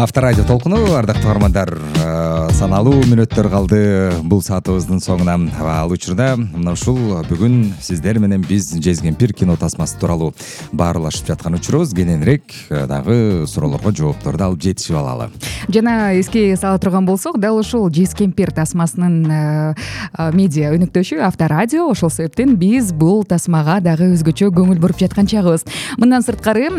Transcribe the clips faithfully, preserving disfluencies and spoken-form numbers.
Авторадио толкуну, ардактуу угармандар, саналуу мүнөттөр калды бул саатыбыздын соңуна. Ал учурда мына ушул бүгүн сиздер менен биз Жез кемпир кино тасмасы тууралуу баарлашып жаткан учурубуз. Кененирээк дагы суроолорго жоопторду алып жетишип алалы. Жана эске сала турган болсок, дал ушул Жез кемпир тасмасынын медиа өнөктөшү Авторадио, ошол себептен биз бул тасмага дагы өзгөчө көңүл буруп жаткан чагыбыз. Мындан сырткары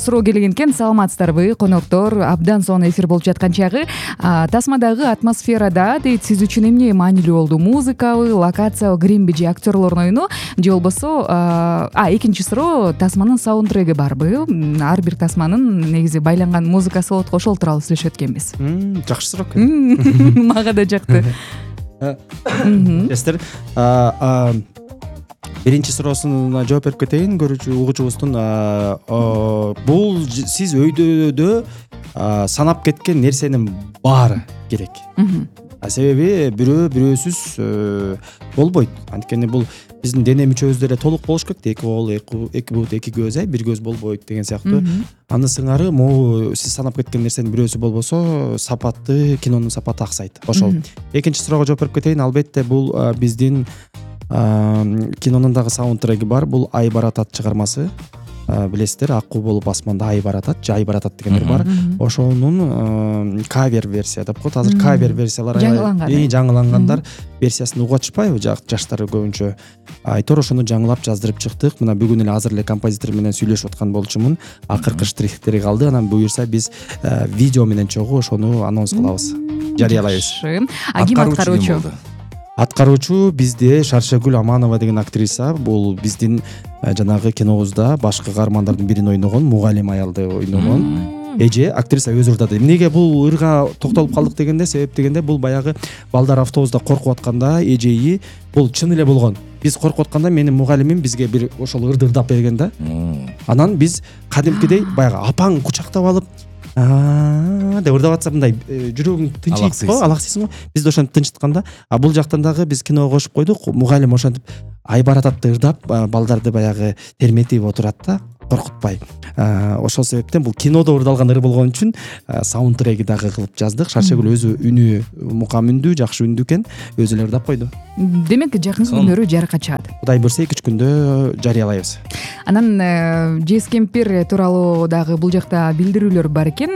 суроо келген экен, саламатсыздарбы коноктор, абдан сонун эфир болуп жаткан чагы. Тасмадагы атмосферада дейт, сиз үчүн эмне маанилүү болду? Музыкабы, локация, гримби же актерлордун ойуну, же болбосо а экинчи суроо, тасманын саундтреги барбы? Ар бир тасманын негизи байланган музыкасы болот го, ошол тууралуу сүйлөшөт экенбиз. Жакшы суроо экен. Мага да жакты. Эстер, биринчи суроосуна жооп берип кетейин көрүүчү угуучубуздун. Бул сиз өйдөөдө санап кеткен нерсенин баары керек. Себеби бирөө бирөөсүз болбойт. Анткени бул биздин дене мүчөбүздө эле толук болуш керек. Эки кол, эки бут, эки көз, ай бир көз болбойт деген сыяктуу. Аны сыңары могу сиз санап кеткен нерсенин бирөөсү болбосо, сапаты, кинонун сапаты аксайт. Ошол. Экинчи суроого жооп берип кетейин. Албетте бул биздин кинонун дагы саундтреги бар. Бул Ай баратат чыгармасы. Билесиздер, акуу болуп асманда ай баратат, же ай баратат дегендер бар. Ошонун кавер версия деп коет. Азыр кавер версиялар жаңылангандар версиясын угуп атышпайбы жаштар көбүнчө. Айтор ошону жаңылап жаздырып чыктык. Мына бүгүн эле азыр эле композитор менен сүйлөшүп аткан болчумун. Акыркы штрихтери калды. Анан буюрса биз видео менен чогуу ошону анонс кылабыз, жарыялайбыз. А ким аткаруучу? Аткаруучу бизде Шаршагүл Аманова деген актриса. Бул биздин жанагы кинобузда башкы каармандардын бирин ойногон, мугалим аялды ойногон эже актриса өз ырдады. Эмнеге бул ырга токтолуп калдык дегенде, себеп дегенде бул баягы балдар автобуста коркуп атканда эжеи бул чын эле болгон. Биз коркуп атканда менин мугалимим бизге бир ошол ырды ырдап берген да. Анан биз кадимкидей баягы апаң кучактап алып деп ырдап атса мындай жүрөгүң тынчыйт го, алаксыйсың го. Биз да ошентип тынчытканда, а бул жактан дагы биз киного кошуп койдук. Мугалим ошентип ай барататты ырдап балдарды баягы терметип отурат да, коркутпай. Ошол себептен бул кинодо ырдалган ыр болгон үчүн саундтреги дагы кылып жаздык. Шаршагүл өзү үнү мукам үндүү, жакшы үндүү экен, өзү эле ырдап койду. Демек жакын күндөрү жарыкка чыгат. Кудай буйрса эки үч күндө жарыялайбыз. Анан Жез кемпир тууралуу дагы бул жакта билдирүүлөр бар экен.